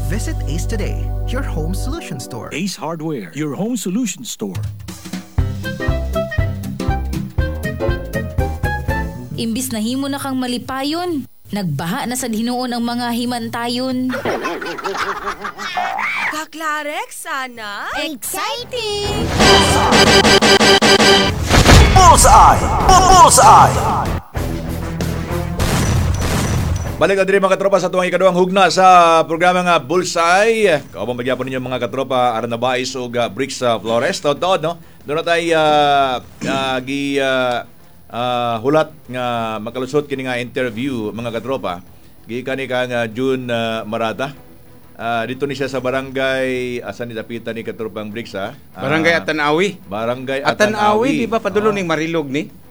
Visit Ace today, your home solution store. Ace Hardware, your home solution store. Imbis na himo na kang malipayon, nagbaha na sad hinuon ang mga himantayon. Kaklarex, sana? Exciting! Bullseye! Bullseye! Balik na diri, mga katropa, sa tuwang ikaduhang hugna sa programa nga Bullseye. Kaubang magyapon ninyo, mga katropa, Aran Nabais ug Bricks Flores. Taod-taod, no? Doon na tayo gi hulat nga makalusot kini nga interview, mga katropa. Gikan ni kang June Marata. Dito ni siya sa barangay, asa ni dapitan ni, katropang Bricks, ha? Barangay Atanawi. Barangay Atanawi, Atanawi. di ba padulo Oh. ning Marilog ni?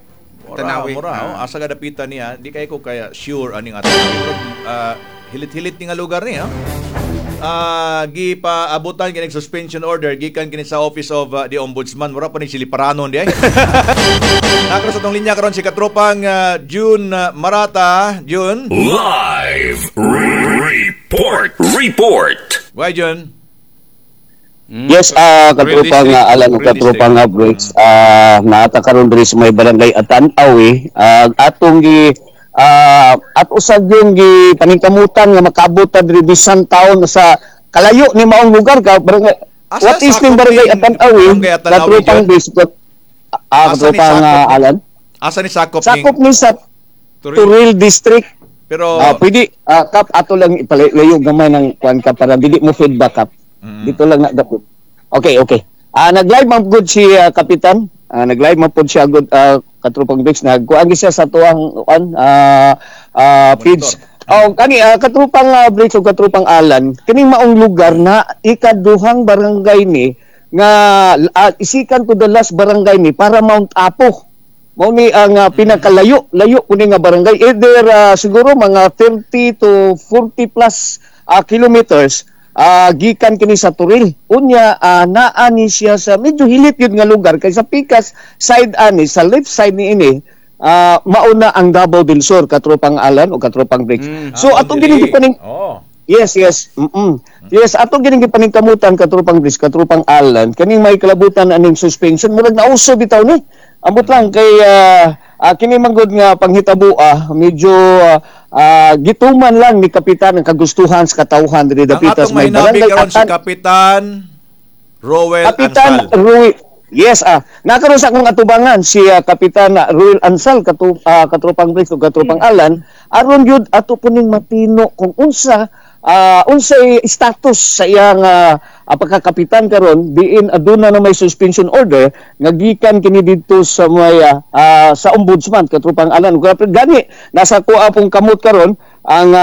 Mura, Tanawi. mura, Ah. oh. Asa ka dapitan niya? Di kay ko kaya sure aning Atanawi. Pero, hilit-hilit ni nga lugar niya. Gipa abutan kini suspension order gikan kini sa Office of the Ombudsman. Mura pa ni siliparanon di ay. Nakaroon sa tong linya karon si katropang June Marata. June. Live Report. Report. Why, June? Yes, katropang Alan ug Real katropang nga Briggs, naata karon diri sa may barangay Atanawi, atong gi at usag yung gi paningkamutan nga makaabot ta diri bisan taon sa kalayo ni maong lugar ka barangay. Asa What is sakop ning barangay ning Atanawi? Barangay Atanawi, Katropang Jun? Briggs, Asa ni katropang sakop ni- Alan. Asa ni sakop Sakop ning ni sa Turil. Turil District. Pero Pwede kap, ato lang ipalayo gamay ng kuan ka para dili mo feedback, kap. Dito lang na dapit. Okay. Nag-live man gud si kapitan. Nag-live man pud siya gud, katropang Bricks, nagkuan gyud siya sa tuang kuan feeds. Oh, kani katropang Bricks ug katropang Alan, kining maong lugar na ikaduhang barangay ni nga isikan to the last barangay ni para Mount Apo. Mao ni ang pinakalayo, layo kuning nga barangay. Either siguro mga 30 to 40 plus kilometers gikan kini sa Turil. Unya naa ni siya sa medyo hilit yun nga lugar kay sa pikas side ani sa left side ni ini mauna ang Davao del Sur, katropang Alan o katropang Bricks. So atong diri. gining gipaning Oh. Yes. Yes, atong gining gipaningkamutan, katropang Chris, katropang Alan, kaning may kalabutan aning suspension, murag nauso bitaw ni. Ambot lang kay kini man gud nga panghitabo, medyo gituman lang ni kapitan ang kagustuhan sa katawhan diri Ang dapitas atong may mahinabi barangay karon si Atan. Kapitan Roel Kapitan Ansal. Rui. Yes, nakaroon sa akong atubangan si Kapitan Ruel Ansal, katropang Briggs ug katropang Alan, aron gyud ato puning matino kung unsa unsay status sa iyang pagkakapitan karon diin aduna na may suspension order nga gikan kini didto sa may sa ombudsman, katropang Alan. Gani nasa kuha pong kamot karon ang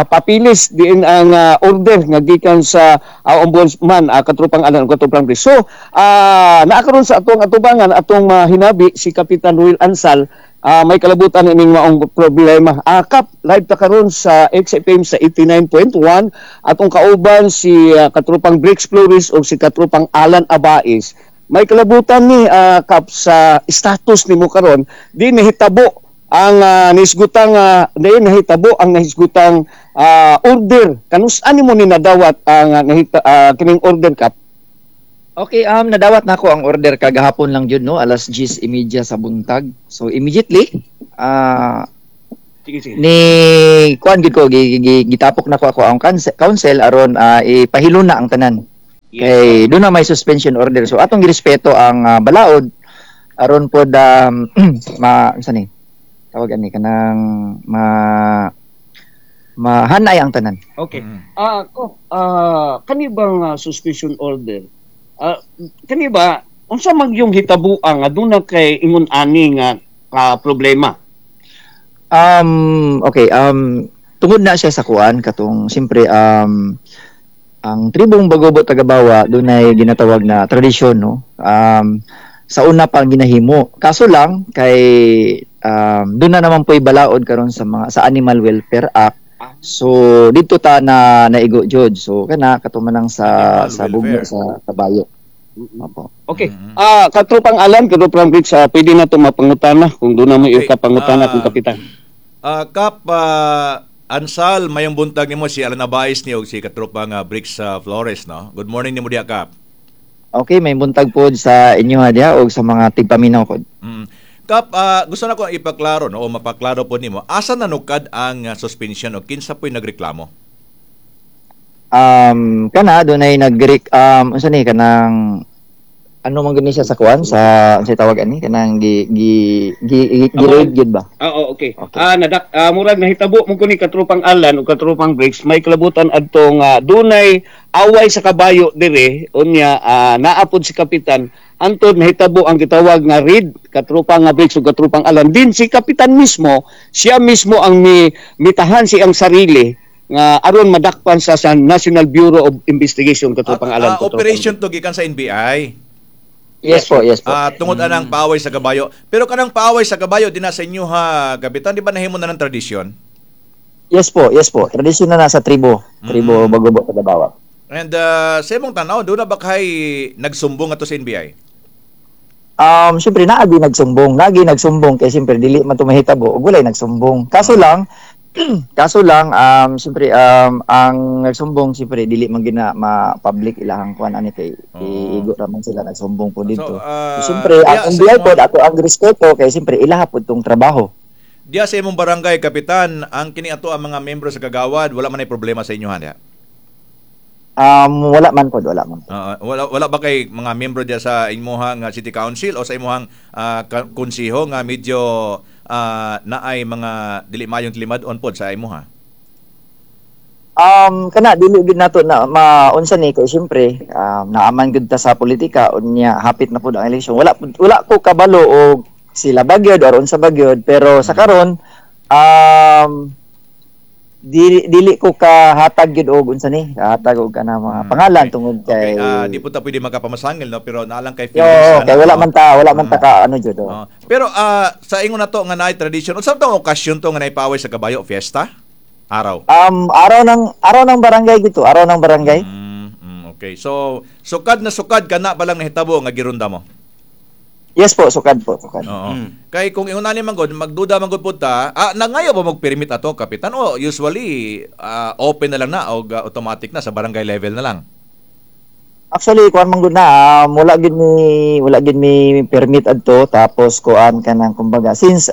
papilis diin ang order nga gikan sa ombudsman, katropang Alan, katropang Chris. So naa karon sa atong atubangan, atong hinabi si Kapitan Ruel Ansal, may kalabutan ining maong problema. Kap, live ta karon sa XFM sa 89.1, atong kauban si katropang Bricks Flores o si katropang Alan Abais. May kalabutan ni kap sa status nimo karon di nahitabo ang nisgutang di nahitabo ang nahisgutang order. Kanus ani mo ni nadawat ang kining order, kap? Okay, nadawat na ako ang order kagahapon lang jud, no, alas 10:30 sa buntag. So immediately Sige, sige. ni kuan gid ko gitapok na ko ako ang council aron ipahilon na ang tanan. Kay doon na may suspension order. So atong girespeto ang balaod aron pod ma unsa ni? Tawag ani kanang ma mahanay ang tanan. Okay. Ko kani bang suspension order? Kani ba unsa man yung hitabuang nga aduna kay ingon ani nga problema? Okay, tungod na siya sa kuan katong siyempre ang tribong Bagobo Tagabawa dunay ginatawag na tradisyon, no. Sa una pa ang ginahimo. Kaso lang kay doon na naman po'y balaod karon sa mga sa Animal Welfare Act. So dito ta na naigo jud. So kana katuman lang sa Animal sa bugno welfare. sa kabayo. Opo. Okay. Katropang Alan, katropang Briggs, pwede na to mapangutana kung doon na mo Okay. okay. kapangutana kung kapitan. Kap, Ansal, mayong buntag nimo, si Alana Baez ni og si katropa nga Bricks Flores, no? Good morning nimo diha, Kap. Okay, may buntag pod sa inyo ha diha og sa mga tigpaminaw pod. Kap, gusto na ko ipaklaro, no, o mapaklaro po nimo, asa nanukad ang suspension o kinsa po'y nagreklamo? Kana dunay nag unsa ni kanang ano man gani siya sa kuan sa unsay tawag ani kanang gi gi gi, gi, gi raid gyud ba? Oo, okay. Nadak murag nahitabo mo kuni katropang Alan ug katropang Briggs, may kalabutan adtong dunay away sa kabayo dire unya naa pod si kapitan antod nahitabo ang gitawag nga raid, katropang nga Briggs ug katropang Alan. Din si kapitan mismo, siya mismo ang mitahan siyang sarili nga aron madakpan sa National Bureau of Investigation, katropang Alan. Operation to gikan sa NBI. Yes po, yes po. Tungod anang paaway sa kabayo. Pero kanang paaway sa kabayo dinha sa inyo ha, kapitan, di ba nahimo na ng tradisyon? Yes po, yes po. Tradisyon na sa tribo, tribo Bagobo Tagabawa. And sa imong tan-aw, doon na ba kay nagsumbong ato sa NBI? Siyempre naagi nagsumbong kay siyempre dili man to mahitabo ug walay nagsumbong. Kaso lang siyempre ang nagsumbong siyempre dili man gina ma-public ilahang kuan ani kay igo ra man sila nagsumbong po dito. So, siyempre ang NBI pod ato ang respeto kay siyempre ilaha pod tong trabaho. Diya sa imong barangay, kapitan, ang kini ato ang mga membro sa kagawad, wala man ay problema sa inyo ha? Wala man pod, wala man. Wala ba kay mga membro diya sa imuhang city council o sa imuhang konseho nga medyo naay mga dili mayong tilimad-on pod sa imuha? Kana dili gid nato na maunsa ni kay siyempre naaman gud ta sa politika unya hapit na pod ang eleksyon. Wala ko kabalo og sila bagyod or unsa bagyod, pero sa karon dili ko kahatag gyud og unsa ni kahatag og kana mga pangalan tungod kay di po ta pwede makapamasangil, no, pero naalang kay feelings. Kay wala man ta ka ano jud. Pero sa ingon nato nga naay tradisyon, unsa tong okasyon to nga naay paaway sa kabayo, fiesta? Araw. Araw ng barangay gito, araw ng barangay. Okay. So sukad na sukad kana pa lang nahitabo nga girunda mo. Yes po, sukad po, sukad. Oo. Kay kung ingon ani man gud, magduda man gud pud ta, nangayo ba magpermit ato, kapitan, o usually open na lang na og automatic na sa barangay level na lang? Actually, kuan man gud na, wala gid mi permit adto, tapos kuan kanang kumbaga since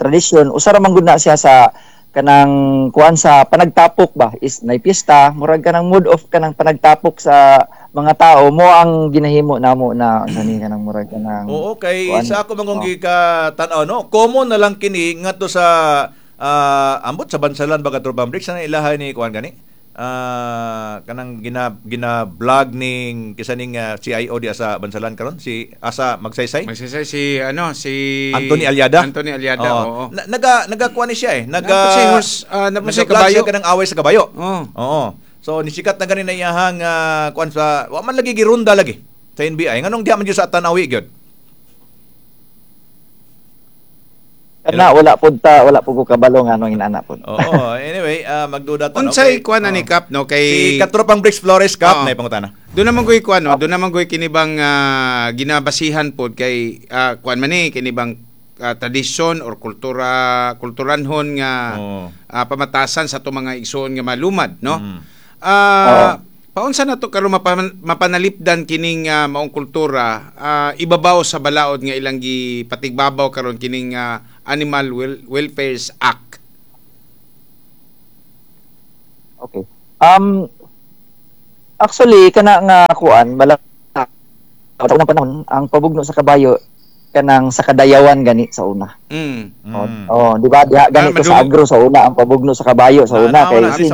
tradition, usa ra man gud na siya sa kanang kuan sa panagtapok ba is nay piyesta, murag kanang mood off kanang panagtapok sa mga tao mo ang ginahimo namo na sani kanang murag kanang. Oo, kay kuan, sa ako mangong gikatan-aw, no, common na lang kini ngadto sa ambot sa Bansalan ba katropang Bricks na ilahan ni kuan gani kanang gina vlog ning kisa ning CIO diya sa Bansalan karon, si asa Magsaysay si ano si Anthony Aliada. Oo. Naga kuan ni siya eh. Naga si kabayo kanang away sa kabayo. Oo. So nisikat na gani na iyahang kuan sa wa man lagi girunda lagi sa NBI nganong diha man jud sa Tanawi gyud. Kana wala pud ta, wala pud ko kabalo nga anong inana pud. Oo, anyway, magduda ta. Unsay kuan ani Kap, no, kay si Katropang Bricks Flores, Kap, na ipangutana. Doon naman koy kuan, no, doon naman koy kinibang ginabasihan pod kay kuan man ni kinibang tradisyon or kultura kulturanhon nga pamatasan sa ato mga igsoon nga malumad, no? Paunsa na to karon mapanalipdan kining maong kultura ibabaw sa balaod nga ilang gipatigbabaw karon kining Animal Welfare Act? Okay. Actually kana nga kuan bala sa unang panahon ang pabugno sa kabayo kanang sa kadayawan gani sa una. Oh, di ba? Diha gani to sa agro sa una ang pabugno sa kabayo sa una kay since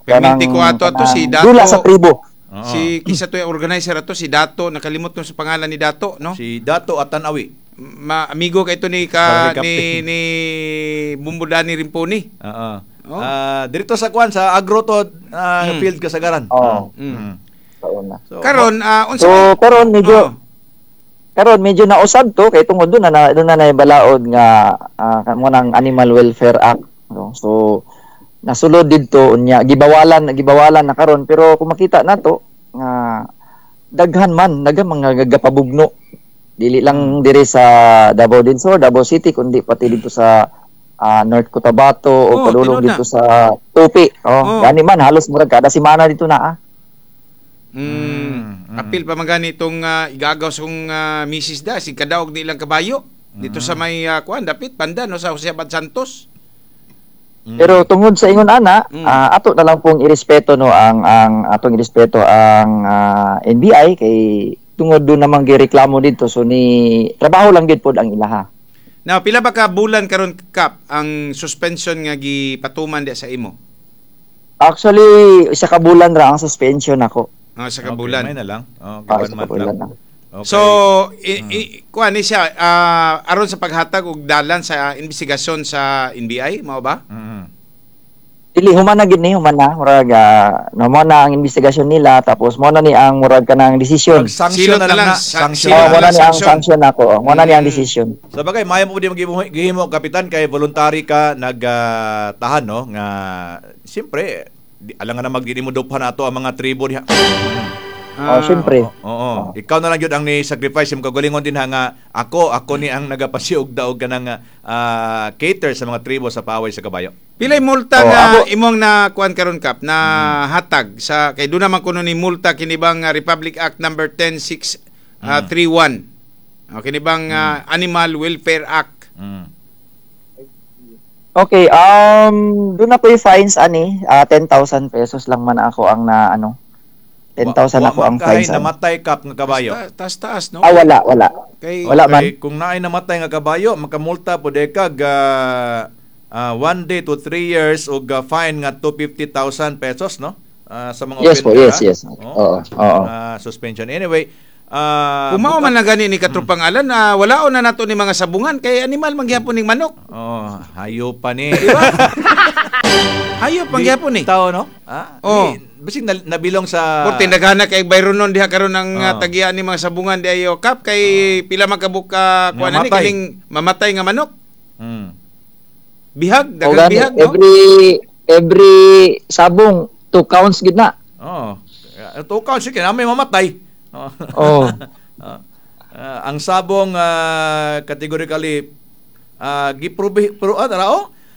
kanang ko ato si Dato dula sa tribo. Si kisa to organizer ato si Dato, nakalimot ko sa pangalan ni Dato, no? Si Dato Atanawi. Ma amigo kay ito ni ni Bumbudani Rimponi. Oo. Dirito sa kuan sa agro to field Kasagaran. Oo. Sa una. So, karon unsa karon medyo karon medyo nausab to kay tungod doon na doon na naibalaod nga mo nang Animal Welfare Act, no? So nasulod didto unya gibawalan na karon, pero kung makita nato nga daghan mga gagapabugno dili lang diri sa Davao del Sur, Davao City, kundi pati dito sa North Cotabato o padulong dito sa Tupi. Oh, gani man halos murag kada semana dito na. Apil pa man gani itong igagaw sa kong misis da si kadaog nilang kabayo dito sa may kuan dapit banda no sa Jose Abad Santos. Pero tungod sa ingon ana, ato na lang pong irespeto no ang atong irespeto ang NBI kay tungod do namang gireklamo dito, so ni trabaho lang gid pod ang ilaha. Now, pila ba ka bulan karon Kap ang suspension nga gipatuman di sa imo? Actually, isa ka bulan ra ang suspension nako. Isa ka bulan. Okay, may na lang. Okay, 1 month lang. Okay. So, kuan ni siya aron sa paghatag og dalan sa investigasyon sa NBI, mao ba? Dili human na gid ni, human na murag mao na ang investigasyon nila, tapos mao na ni ang murag kanang desisyon. Sanction na lang, sanction. Mao na ni ang sanction nako. Mao na ni ang desisyon. Sa bagay, maayo mo pud gihimo kapitan kay voluntary ka nagtahan no nga siyempre alangan na magdili mo duphan ato ang mga tribo diha. Siyempre. Oo. Ikaw na lang gyud ang ni sacrifice imong kagalingon din ha nga ako ni ang nagapasiog daog kanang cater sa mga tribo sa paaway sa kabayo. Pilay multa nga imong na kuan karon Kap na hatag sa kay doon naman kuno ni multa kini bang Republic Act number 10631. Kini bang Animal Welfare Act. Okay, doon na ko yung fines ani, 10,000 pesos lang man ako ang na ano. 10,000 ako ang fines. Namatay Kap nga kabayo. Taas no. Wala, wala. Kay, wala man. Kung naay namatay nga kabayo, makamulta pud kag 1 day to 3 years og fine nga 250,000 pesos no? Sa mga yes po, yes, yes. Oo. Suspension. Anyway, kumao man lang gani ni Katropang Alan na wala na nato ni mga sabungan kay animal mangyapon ning manok. Oh, hayo pa ni. Diba? Hayo pangyapon ni. Tao no? Bisig nabilong sa Porte naghana kay Byron non diha karon ang tagian ni mga sabungan di ayo Kap kay pila man kabuka kuan ani kining mamatay nga manok. Bihag, daghang bihag no. Every sabong 2 counts gid na. Oh. 2 counts kay na may mamatay. Ang sabong categorically giprobe pero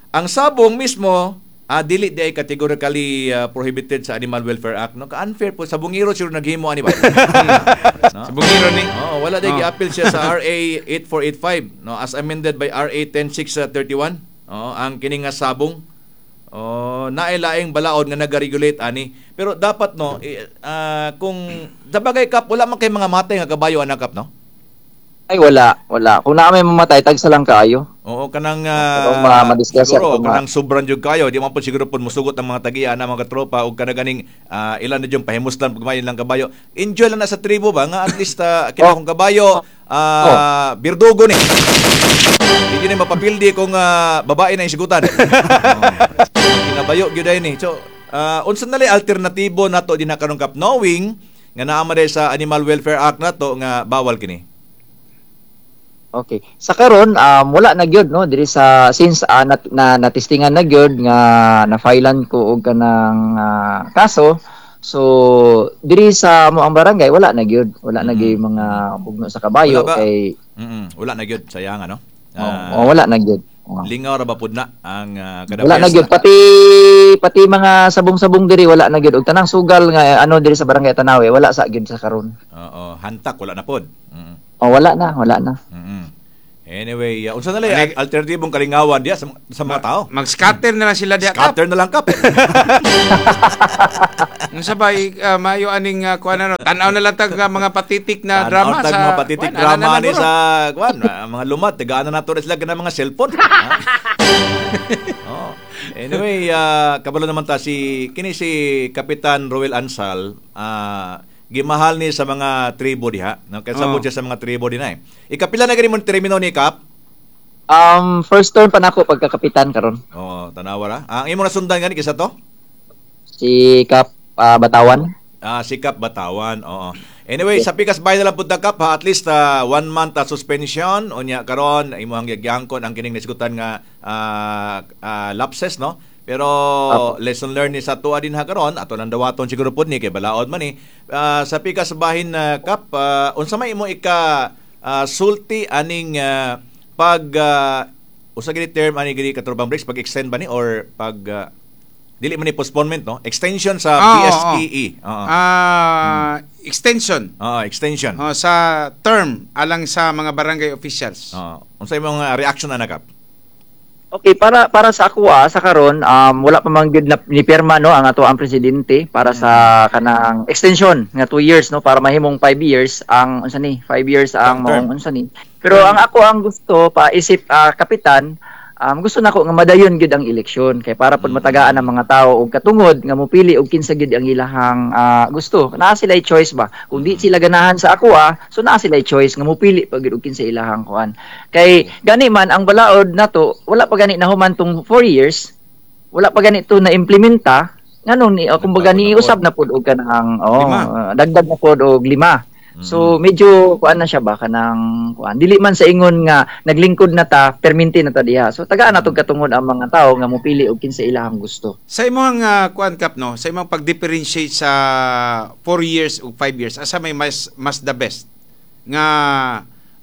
ang sabong mismo dili di ay categorically prohibited sa Animal Welfare Act no. Ka-unfair po sabungiro siguro naghimo ani ba? No? Sabungiro ni. Wala di gi-appeal siya sa RA 8485 no, as amended by RA 10631. Ang kini nga sabong naay laing balaod nga naga-regulate ani. Pero dapat no kung sabagay Kap wala man kay mga matay nga kabayo anak Kap no. Ay wala. Kung naa may mamatay tagsa lang kaayo. Oo, kanang siguro kanang sobran jud kayo, di man po siguro pud musugot ang mga tagiya na mga katropa og kanang ganing ilan na jud pahimuslan pag lang kabayo. Enjoy lang na sa tribo ba nga at least kini akong kabayo birdugo ni. Di ni mapapildi kung babae na isigutan. Kinabayo gyud ay ni. So, unsa na lay alternatibo nato dinha karon Kap knowing nga naa man sa Animal Welfare Act nato nga bawal kini? Okay. Sa karon wala na gyud no diri sa since na testingan na gyud nga na-filean ko og kanang kaso. So diri sa mo ang barangay wala na gyud, wala na gyud mga bugno sa kabayo kay wala na gyud sayang ano. Wala na gyud. Lingaw ra ba pud na ang kada wala na gyud pati mga sabong-sabong diri wala na gyud og tanang sugal nga ano diri sa barangay Tanawe wala sa gyud sa karon. Oo, hantak wala na pod. Wala na. Anyway, unsa na lay alternatibong kalingawan diya sa mga tao? Mag-scatter na lang sila diya. Scatter na lang Kap. Unsa ba maayo aning kuan ano? Tan-aw na lang tag mga patitik na drama sa mga patitik drama ni sa kuan mga lumat tagaan na nato sila kanang mga cellphone. Anyway, kabalo naman ta si kini si Kapitan Roel Ansal, gimahal ni sa mga tribo diha. No, kay sabot siya sa mga tribo din ay. Ikapila na gani mo termino ni Kap? First term pa nako pagkakapitan karon. Oo, tanawa ra. Ang imo nasundan gani kisa to? Si Kap Batawan. Si Kap Batawan, oo. Anyway, sa pikas bay na lang pud ta Kap ha, at least 1 month suspension unya karon imo ang gigyangkon ang kining nisgutan nga lapses no. Pero lesson learned ni sa tuwa din ha karon ato nang dawaton siguro pud ni kay balaod man ni. Sa pikas bahin Kap, unsa may imo ika sulti aning pag Usa gini term ani gini, Katropang Bricks, pag-extend ba ni or pag dili man ni postponement, no? Extension sa BSEE. Oo. Extension. Oo, extension. Oh, sa term alang sa mga barangay officials. Oo. Unsa imong reaction ana, Kap? Okay, para para sa ako sa karon wala pa man gyud na ni pirma, no, ang ato ang presidente para sa kanang extension nga 2 years, no, para mahimong 5 years ang unsa ni, 5 years ang Term. Maong unsa ni. Pero ang ako ang gusto pa isip kapitan, gusto nako nga madayon gyud ang eleksyon kay para pud matagaan ang mga tao og katungod nga mopili og kinsa gyud ang ilahang gusto. Naa sila choice ba? Kung di sila ganahan sa ako so naa sila choice nga mopili pa gyud og kinsa ilahang kuan. Kay gani man ang balaod nato, wala pa gani nahuman tong 4 years, wala pa gani to na implementa nganong ni kumbaga Nagbago na ni usab na pud og kanang oh, Lima. Dagdag na pud og lima. So medyo kuan na siya ba, kanang kuan, dili man sa ingon nga naglingkod na ta, perminti na ta diha. So tagaan na tog katungod ang mga tawo nga mopili og kinsa ilahang gusto. Sa imong kuan, Kap, no, sa imong pag-differentiate sa 4 years ug 5 years, asa may mas mas the best? Nga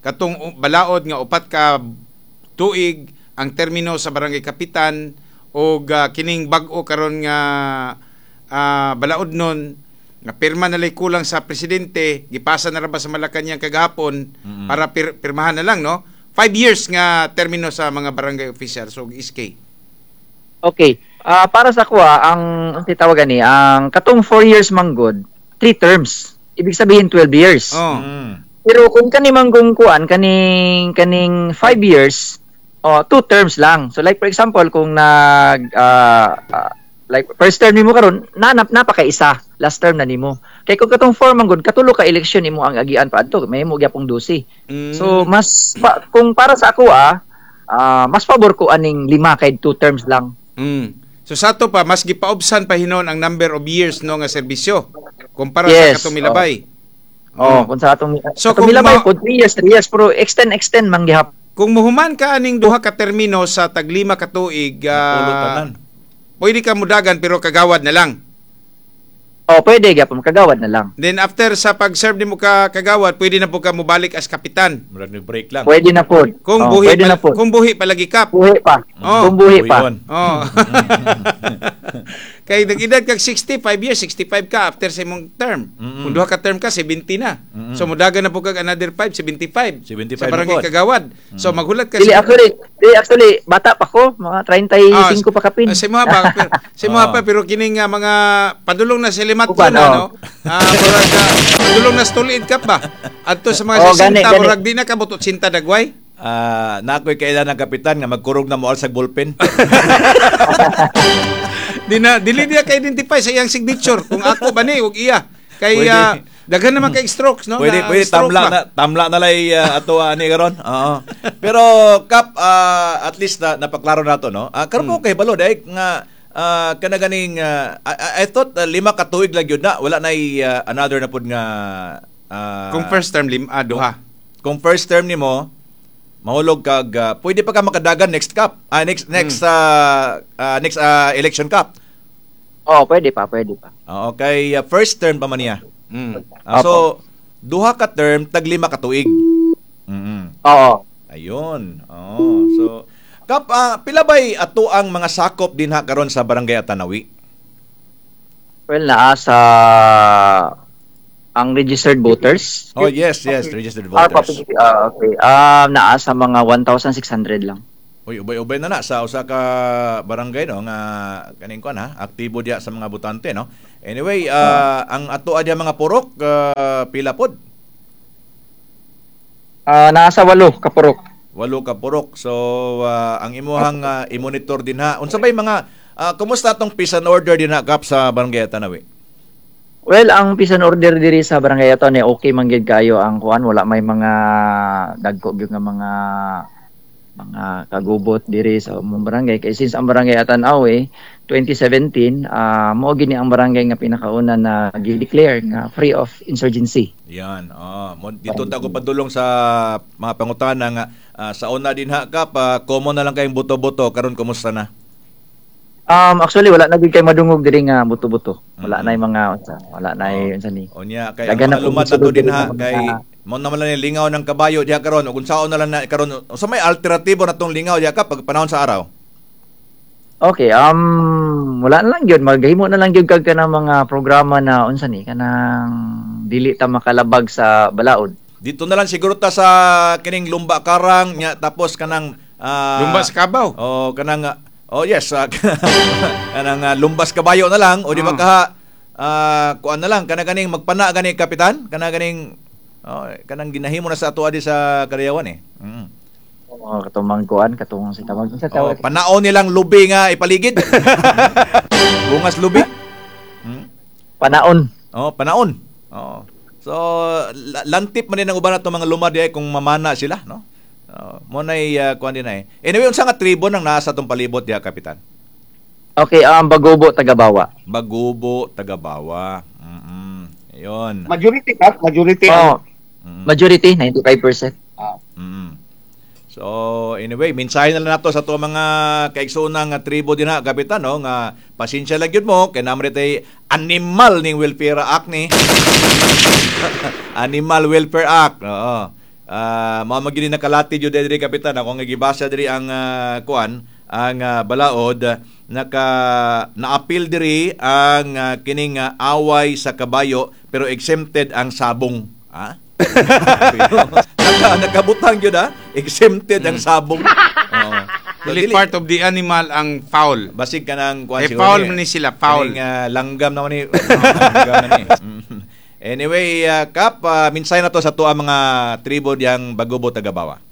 katong balaod nga 4 ka tuig ang termino sa barangay kapitan og kining bag-o karon nga balaod nun nga pirma na lay kulang sa presidente, gipasa na ra ba sa Malacañang kagahapon para pirmahan na lang, no? 5 years nga termino sa mga barangay officials ug SK. Okay. Para sa kuha, ang titawagan ni ang katong 4 years manggod, 3 terms. Ibig sabihin 12 years. Oh. Pero kung kani manggong kuan kaning kaning 5 years, oh, 2 terms lang. So like for example, kung nag like first term nimo karon, na napaka-isa last term na nimo. Kay kung katong 4 manggod, katulo ka eleksyon nimo ang agian pa adto, may mo gyapong 12. So mas pa, kung para sa ako mas pabor ko aning lima kay 2 terms lang. So sa ato pa mas gipaubsan pa hinon ang number of years, no, nga serbisyo kumpara sa katong milabay. Oh, kung sa atong So, so, kung kung milabay po 3 years, 3 years, pero extend extend man gihapon. Kung muhuman ka aning duha ka termino sa taglima ka tuig, Napulo tanan. pwede ka mudagan pero kagawad na lang. Oh, pwede gyapon kagawad na lang. Then after sa pag-serve nimo ka kagawad, pwede na po ka mobalik as kapitan. Murag ni break lang. Pwede na po. Kung Oh, buhi pwede pa, na po. kung buhi palagi, Kap. Buhi pa. Oh. Kung buhi pa. Buhion. Oh. Kay nag-edad kag 65 years, 65 ka after sa imong term. Kung duha ka term ka, 70 na. So mudagan na po kag another 5, 75. 75 sa barangay na po. kagawad. So maghulat ka Dili actually, dili actually bata pa ko, mga 35 pa kapin. Sa imo pa, pero, sa imo pa, pero kining mga padulong na sa limatyo Uban, na, oh. no. Murag padulong na sa tuliid ka pa. Adto sa mga Oh, 60, gani, gani. murag di na kabot 80 dagway. Na ako'y kailan ng kapitan nga magkurog na moal sa ballpen. Di na dili niya ka-identify sa iyang signature kung ako ba ni ug iya. Kay Pwede. Daghan naman kay strokes, no? Pwede Na pwede stroke tamla ba? na tamla na lay ato ani karon. Oo. Pero Kap, at least na, napaklaro nato, no. Karon po kay balo dai nga kana ganing I thought 5 ka tuig lang yun na, wala na another na pud nga Kung first term duha. Kung first term nimo mahulog kag pwede pa ka makadagan next cup. Next next next election cup. Oh, pwede pa, pwede pa. Oo, kay first term pa man niya. So duha ka term tag 5 ka tuig. Oo. Ayun. Oo. So Kap, pila bay ato ang mga sakop dinha karon sa Barangay Atanawi? Well, naa sa ang registered voters. Oh, yes, yes, registered Ah, voters. okay. Naa sa mga 1,600 lang. Uy, ubay-ubay na na sa usa ka barangay, no, nga kaning kuan ha, aktibo diya sa mga botante, no. Anyway, ang ato diya mga purok pila pod? Naa sa 8 ka purok. 8 ka purok. So ang imuhang i-monitor din ha. Unsa bay mga kumusta atong peace and order din ha, Kap, sa Barangay Atanawi? Well, ang peace and order diri sa Barangay Atanawi okay man gyud kayo ang kuan, wala may mga dagko gyud nga mga kagubot diri sa among barangay kay since ang Barangay Atanawi 2017 mao gini ang barangay nga pinakauna na gi-declare nga free of insurgency. Yan. Oh, dito ta ko padulong sa mga pangutana nga sa una din ha, Kap, common na lang kayong buto-buto karon, kumusta na? Actually wala na gyud kay madungog diri nga buto-buto. Wala na yung mga unsa, wala na yung unsa ni. Unya kay ang Dagan na mga lumad pong nato din musulod ha diri kay sa mga- Mo naman lang lingaw ng kabayo diha karon ug unsaon na lang na karon unsa may alternatibo na tong lingaw diha ka pag panahon sa araw? Okay, wala na lang gyud, maghimo na lang gyud kag kanang mga programa na unsa ni kanang dili ta makalabag sa balaod. Dito na lang siguro ta sa kining lumba karang nya tapos kanang lumba sa kabaw. Oh, kanang oh yes, kanang lumbas kabayo na lang o di ba kaha kuan na lang kana ganing magpana gani kapitan, kana ganing kanang ginahimo na sa ato adi sa Kadayawan eh. Oh, katong kuan katong sa tawag sa tawag. Panaon nilang lubi nga ipaligid. Bungas lubi. Panaon. Oh, panaon. Oh. So lantip man din ang uban ato mga lumad diay kung mamana sila, no? Mo nay kuan din ay. Anyway, unsa nga tribo nang naa sa atong palibot diha, kapitan? Okay, Bagobo Tagabawa. Bagobo Tagabawa. Ayun. Majority ka, majority. Oh. Majority 95%. So anyway, mensahe na lang nato sa ato mga kaigsoonang tribo din ha, kapitan, no, nga pasensya lang gyud mo kay namre tay animal ning Welfare Act ni. Animal Welfare Act. Oo. Mao man gyud nakalati gyud diri kapitan, ako nga gibasa diri ang kuan, ang balaod naka naapil diri ang kining away sa kabayo pero exempted ang sabong. Ha? Nakabutang yun ha? Exempted ang sabong. So, dili part of the animal ang foul. Basig ka ng kuan eh, foul man ni sila, foul. Kaning, langgam naman ni. Langgam na ni. Anyway, Kap, minsay na to sa tuwa mga tribo diyang Bagobo Tagabawa.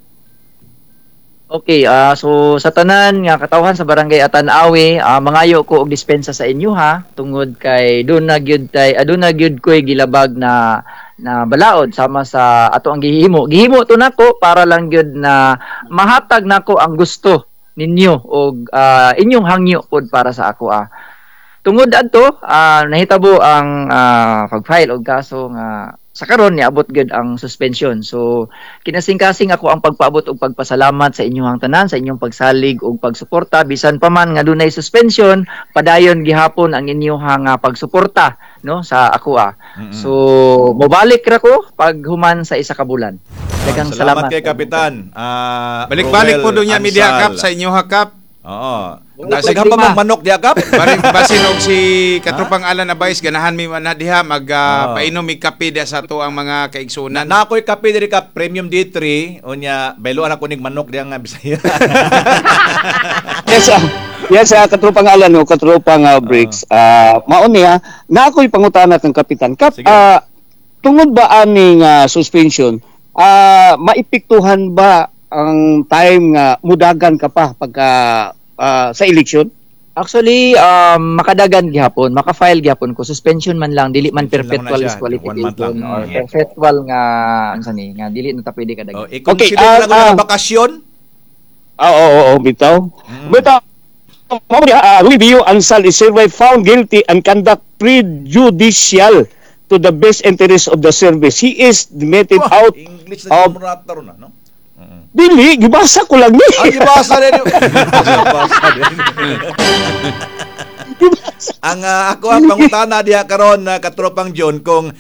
Okay, so sa tanan nga katawhan sa Barangay Atanawe, mangayo ko og dispensa sa inyo ha, tungod kay doon na gyud tay, doon na gyud koy gilabag na balaod sama sa ato ang gihimo. Gihimo to nako para lang gyud na mahatag nako ang gusto ninyo og inyong hangyo pod para sa ako. Tungod adto, nahitabo ang pag-file og kaso nga sa karon niabot gyud ang suspension. So kinasing-kasing ako ang pagpaabot og pagpasalamat sa inyong tanan, sa inyong pagsalig og pagsuporta bisan pa man nga dunay suspension, padayon gihapon ang inyong pagsuporta no sa ako. So mobalik ra ko pag human sa isa ka bulan. Daghang salamat kay Kapitan. Balik-balik po doon niya media kap sa inyo kap. Oo. Daghan pa mang manok diha kap. Basin og si katropang Alan Abais ganahan mi man diha mag painom mig kape diha sa ato ang mga kaigsunan. Na ako'y kape diri ka Premium D3 unya bayloan ako ning manok diha nga Bisaya. Yes, yes, katropang Alan o katropang Briggs. Mao niya na ako'y pangutana kang kapitan. Kap, tungod ba aning suspension, maepektuhan ba ang time nga mudagan ka pa pagka sa election? Actually, makadagan gihapon, maka-file gihapon ko. Suspension man lang, dili man perpetual disqualification or perpetual nga unsa ni, nga dili na ta pwede kadagan. Okay, lang na bakasyon? Oo, bitaw. Bitaw. Mao ni Rui Bio Ansal is hereby found guilty and conduct prejudicial to the best interest of the service. He is admitted out English na of na, no? Dili, gibasa ko lang ni. Ah, gibasa din. Gibasa din. Ang ako ang pangutana diha karon katropang John kung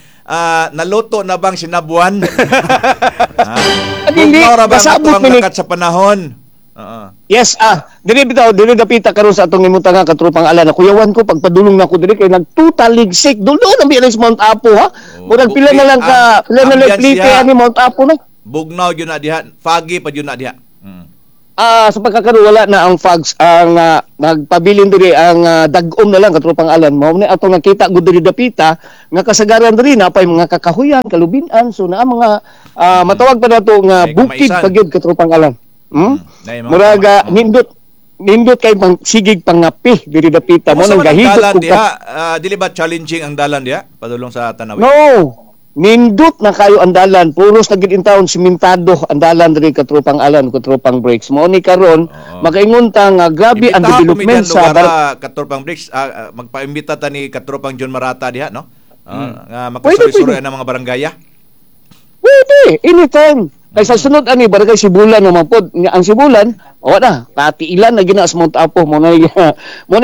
naluto na bang sinabuan? Dili, kasabot ni sa panahon. Yes, dili bitaw, dili dapita karon sa atong imutang nga katropang Alan. Kuyawan ko pagpadulong nako diri kay nagtutaligsik. Dulon ang biya sa Mount Apo ha. Murag pila na lang ka, pila na lang plite ani Mount Apo na. Bugnaw yun na diha, foggy pa yun na diha. Sa pagkakaroon wala na ang fogs, ang nagpabilin diri ang dag-om na lang katropang Alan. Mao ni atong nakita gud diri dapita nga kasagaran diri napay mga kakahuyan, kalubinan, so naa mga matawag pa nato nga bukid pa gyud katropang Alan. Murag nindot kay sigig pangapi diri dapita mo nang gahigop ko. Dili ba challenging ang dalan diha padulong sa Tanawi? No. Nindot na kayo ang dalan, puros na gid in taon simentado ang dalan diri katropang Alan, katropang Briggs. Mao ni karon makaingon ta nga grabe ang development sa katropang Briggs, magpaimbita ta ni katropang John Marata diha, no? Nga makasuri-suri ang mga barangaya. Pwede, anytime. Kay sa sunod ani barangay Sibulan naman pod, ang Sibulan, wa na, katiilan na gina sa Mount Apo mo na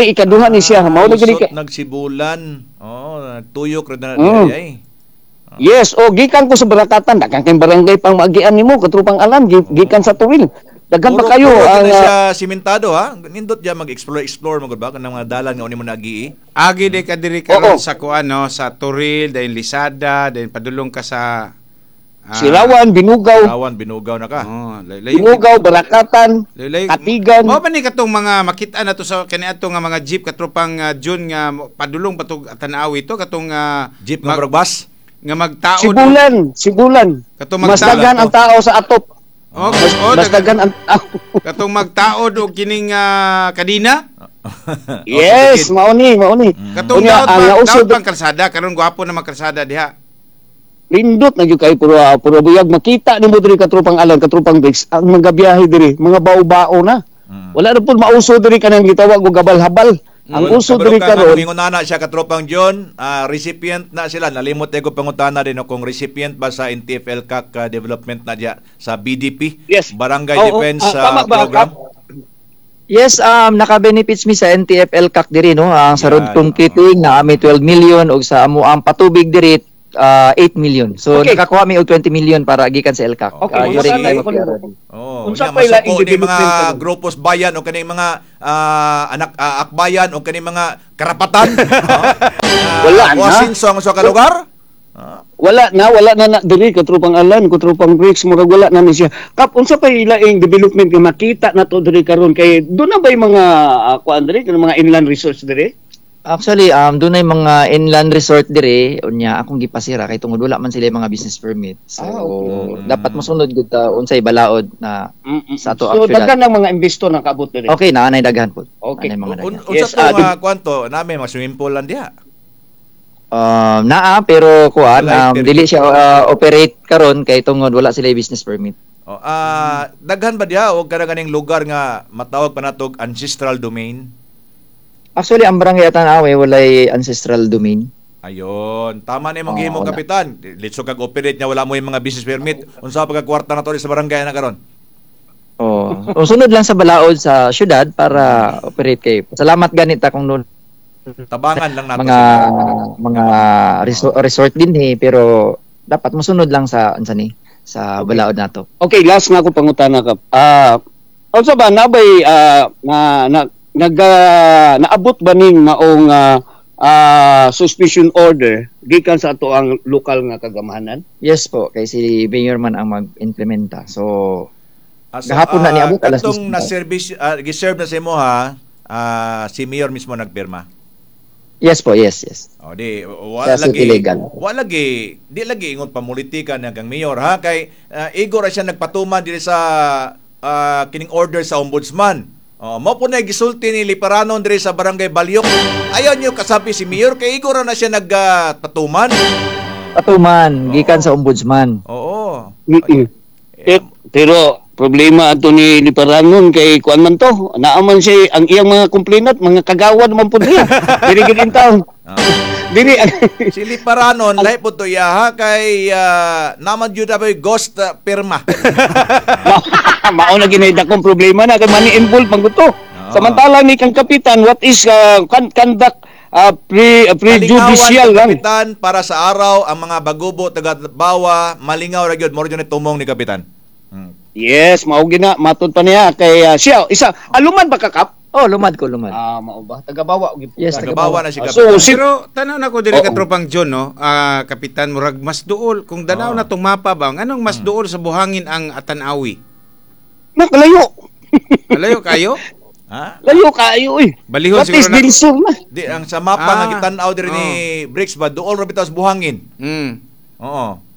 ikaduha ni siya, mao na gini nagsibulan. Oh, nagtuyok ra na diay. Yes, o gikan ko sa Barakatan, daghan kay barangay pang maagian nimo, katropang Alan, gikan sa Toril. Daghan pa kayo Puro ang na siya simentado ha. Nindot diya mag-explore explore magud ba kanang mga dalan nga uni mo nagii. Agi di ka diri karon sa kuan, no, sa Toril, dayon Lisada, dayon padulong ka sa Sirawan, Binugaw. Sirawan, Binugaw na ka. Oh, layo. Binugaw, Barakatan, Layo. Katigan. Mao ba ni katong mga makita na to sa kaniadto nga mga jeep, katropang June, nga padulong patug Tanawi to katong jeep nga murag bus nga magtaod? Sibulan, Sibulan. Katong Mas magtaod daghan ang tao sa atop. Oh, Mas, oh, mas daghan ang tao. Katong magtaod og kining kadina. Yes, mao ni, mao ni. Katong Unya, daot ang pa, nauso daot pang kalsada karon, gwapo na mga kalsada diha. Lindot na gyud kay puro puro buyag. Makita nimo diri, katropang Alan, katropang Briggs, ang mga biyahe diri, mga bao-bao na. Wala na pud mauso diri kanang gitawag og gabal-habal. Ang uso Kabalo diri ka nga, karon kung ingon na siya, katropang John, recipient na sila. Nalimot ko pangutana din, no, kung recipient ba sa NTFL CAC development na diya sa BDP, Yes. Barangay Oo, Defense tama ba, Program. Yes, naka-benefits mi sa NTFL CAC diri, no. Ang sa road Yan, concreting na ami 12 million ug sa amo ang patubig diri 8 million. So nakakuha mi og 20 million para gikan sa LCAC during Unsa time of pa PRRD. Oh, Unsa unya, pa'y laing masuko ni mga development karon? grupos bayan o kaning mga anak akbayan o kaning mga karapatan. Wala na. Wasinso ang usa ka lugar. Wala na diri, katropang Alan, katropang Briggs, murag wala na ni siya. Kap, unsa pa ilaing development nga makita na to diri karon, kay doon na ba mga kuan diri, kanang mga inland resorts diri? Actually, doon ay mga inland resort dire, unya akong gipasira kay tungod wala man sila yung mga business permit. So dapat mosunod gud ta unsay balaod na sa ato So actual. daghan ng mga investor na kaabot diri. Okay, naa nay daghan po. Okay. Naanay mga daghan. Unsa Yes, to nga kwanto nami mga swimming pool lang diha? Naa pero kuan Walay permit. dili siya operate karon kay tungod wala sila business permit. Oh, daghan ba diha og kana ganing lugar nga matawag pa natog ancestral domain? Actually, ang barangay Atanawe walay ancestral domain. Ayon, tama na imong Oo, gihimo, wala. kapitan. Litso kag operate niya, wala mo yung mga business permit. Unsa pa ka kwarta na to sa barangay na karon? Oh, o sunod lang sa balaod sa syudad para operate kay. Salamat ganita kung noon Tabangan lang nato mga sila. mga resort din eh, pero dapat mosunod lang sa unsa ni sa balaod nato. Okay, last nga ako pangutana ka. Unsa ba nabay na na nag naabot ba ning maong suspicion order gikan sa ato ang lokal nga kagamahanan? Yes po, kay si Mayor man ang mag-implementa. So, So, gahapon na niabot alas katong 10. na service giserve na sa imo ha, si mayor mismo nagpirma? Yes po, yes. O di wala Sa lagi city legal. Wala lagi, di lagi ingon pamulitika na kang mayor ha, kay igo ra siya nagpatuman diri sa kining order sa ombudsman. Oh, mao po na gisulti ni Liparanon diri sa barangay Balyok. Ayaw niyo kasabi si mayor kay igo ra na siya nagpatuman. Patuman gikan sa ombudsman. Oo. Pero problema ato ni Liparanon kay kuan man to. Naaman siya ang iyang mga complainant, mga kagawad man pud niya. Diri gid in town. Diri Si Liparanon lahi po to iya ha, kay naman jud aboy ghost pirma. Mao na ginay dakong problema na kay money involved man gud to. Samantala ni kang kapitan, what is conduct prejudicial Malingawan, lang. Kapitan, para sa araw ang mga bagubo taga Bawa malingaw ra gyud mo ni tumong ni kapitan. Yes, mao gina matud pa niya kay siya isa aluman ba ka, Kap? Oh, lumad ko, lumad. Ah, mao ba? Taga-Bawa gyud. Yes, Taga-Bawa na si Ah, kapitan. so si Pero tanaw na ko diri, katropang John, no, kapitan, murag mas duol kung danaw na tong mapa ba, nganong mas duol sa buhangin ang Atanawi? Nakalayo. Alayo kayo? Ha? Layo kayo eh. Balihon What is siguro na. Del Sur na? Di ang sa mapa nga gitan-aw diri ni Briggs ba, duol ra bitaw sa buhangin. Oo.